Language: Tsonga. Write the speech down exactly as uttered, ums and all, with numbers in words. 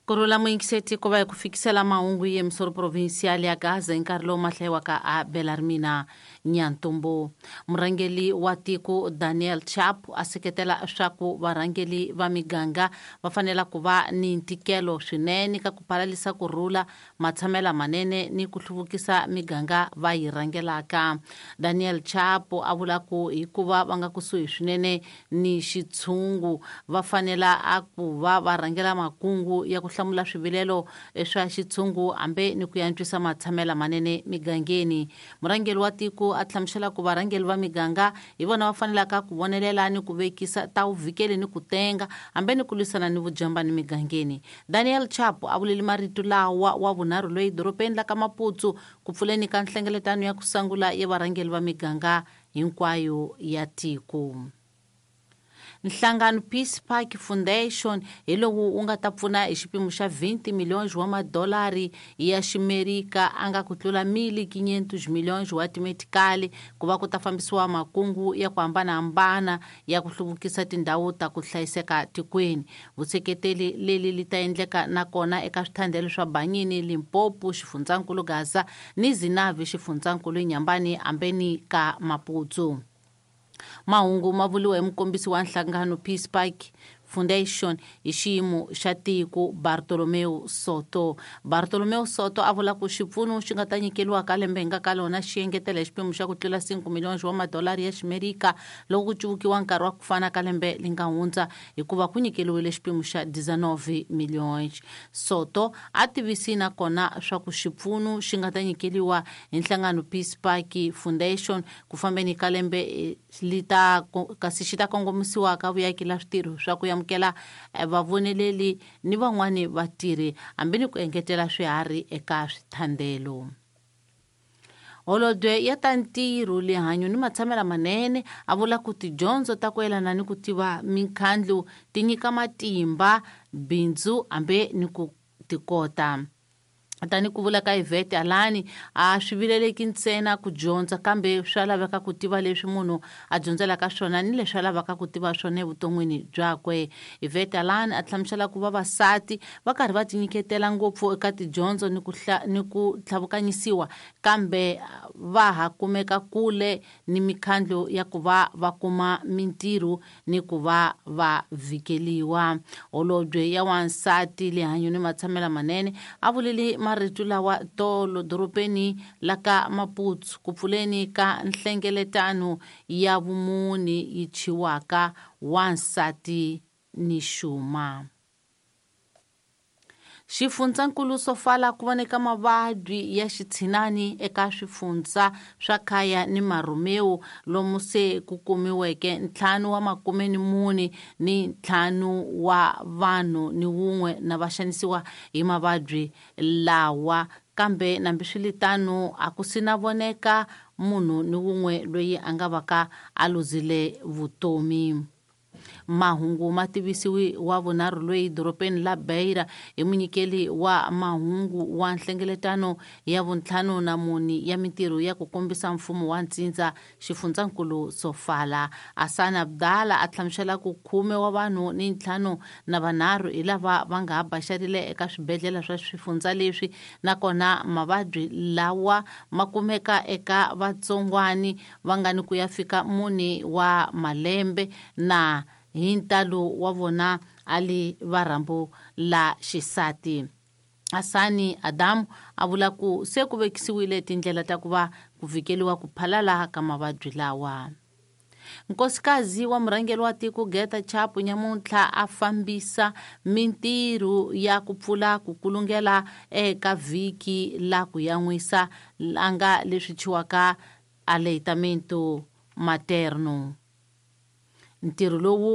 Kurhula muyingiseti ku va hi ku fikisela mahungu ye misoro provincial ya Gaza hi nkarhi lowu ma hlayiwaka a Belarmina Nyantombo. Murhangeri wa tiko Daniel Chapo a seketela swa ku varhangeri va miganga va fanela ku va ni ntikelo swinene ka ku palalisa kurhula, matshamela manene ni ku hluvukisa miganga va yi rhangelaka. Daniel Chapo a vula ku hikuva va nga kusuhi swinene ni xitshungu va fanela a ku va va rhangela makungu ya ku hlamula swivilelo swa xitshungu hambi ni ku antswisa matshamela manene migangeni. Murhangeri wa tiko a hlamusela ku varhangeri va miganga hi vona va fanelaka ku vonelela ni ku vekisa ta vuvhikeli ni ku tenga hambi ni ku lwisana ni vujambani migangeni. Daniel Chapo a vuleli marito lawa wa vunharhu loyi dorobeni la ka Maputo ku pfuleni ka nhlengeletano ya ku sungula ya varhangeri va miganga hinkwayo ya tiko. Nhlangano Peace Park Foundation hi lowu wu nga ta pfuna hi xipimo xa twenty milhões wa madolari ya ximerika a nga ku tlula mil quinhentos milhões wa timetikali ku va ku ta fambisiwa makungu ya ku hambanahambana ya ku hluvukisa tindhawu ta ku hlayiseka tikweni. Vuseketeli leli li ta endleka nakona eka swithandelo swa Banyini, Limpopo, xifundzankulu Gaza ni Zinavi, xifundzankulu Nyambani ambeni ka Maputo. Mahungu ma vuriwa hi mukombisi wa nhlangano Peace Park Foundation hi xiyimo xa tiko Bartolomeu Soto. Bartolomeu Soto a vula ku xipfuno xi nga ta nyikeriwa ka lembe hi nga ka lona xi engetela hi xiphemu xa ku tlula cinco milhões wa madolari ya ximerika loko ku cuvukiwa nkarhi wa ku fana ka lembe li nga hundza hikuva ku nyikeriwile xiphemu xa dezenove milhões. Soto a tivisi nakona swa ku xipfuno xi nga ta nyikeriwa hi nhlangano Peace Park Foundation ku fambeni ka lembe li ta kasi xi ta kongomisiwa ka vuyaki la switirho swa ku amukela vavoneleli ni van'wani vatirhi hambi ni ku engetela swiharhi eka swithandelo. Holobye ya ta ntirho, lihanyo ni matshamela manene a vula ku tidyondzo ta ku yelana ni ku tiva mikhandlu ti nyika matimba bindzu hambi ni ku tikota. Tani ku vula ka Yvette Alani a swi vileleki ntsena ku dyondza kambe swa laveka ku tiva leswi munhu a dyondzelaka swona ni leswi a lavaka ku tiva swona evuton'wini byakwe. Yvette Alani a hlamusela ku vavasati va karhi va tinyiketela ngopfu eka tidyondzo ni ku ni ku tlhavukanyisiwa kambe va ha kumeka kule ni mikhandlu ya ku va va kuma mintirho ni ku va va vhikeliwa. Holobye ya wansati, lihanyo ni matshamela manene a vuleli marito lawa tolo dorobeni la ka Maputo ku pfuleni ka nhlengeletano ya vumuni yi thyiwaka wansati ni xuma. Xifundzankulu Sofala ku voneka mavabyi ya xitshinani eka swifundza swa Khaya ni Marumeu lomu se ku kumiweke ntlhanu wa makume ni mune ni ntlhanu wa vanhu ni wun'we na va xanisiwa hi mavabyi lawa, kambe nambiswiritano a ku sina voneka munhu ni wun'we loyi a nga vaka a luzile vutomi. Mahungu ma tivisiwi wa vunharhu loyi dorobeni la Beira hi munyikeli wa mahungu wa nhlengeletano ya vuntlhanu na mune ya mintirho ya ku kombisa mfumo wa ntsindza xifundzankulu Sofala. Asana Abdala a hlamusela ku khume wa vanhu ni ntlhanu na vanharhu hi lava va nga ha baxarile eka swibedhlele swa swifundza leswi, nakona mavabyi lawa ma kumeka eka vatsongwani va nga ni ku ya fika mune wa malembe na hi ntalo wa vona a li varhambu la xisati. Asani Adamu a vula ku se ku vekisiwile tindlela ta ku va ku vhikeliwa ku phalala ka mavabyi lawa. Nkosikazi wa murhangeri wa tiko Geta Chapo nyamuntlha a fambisa mintirho ya ku pfula ku kulungela eka vhiki la ku yan'wisa la nga leswi thyiwaka aleitamento materno. Ntirho lowu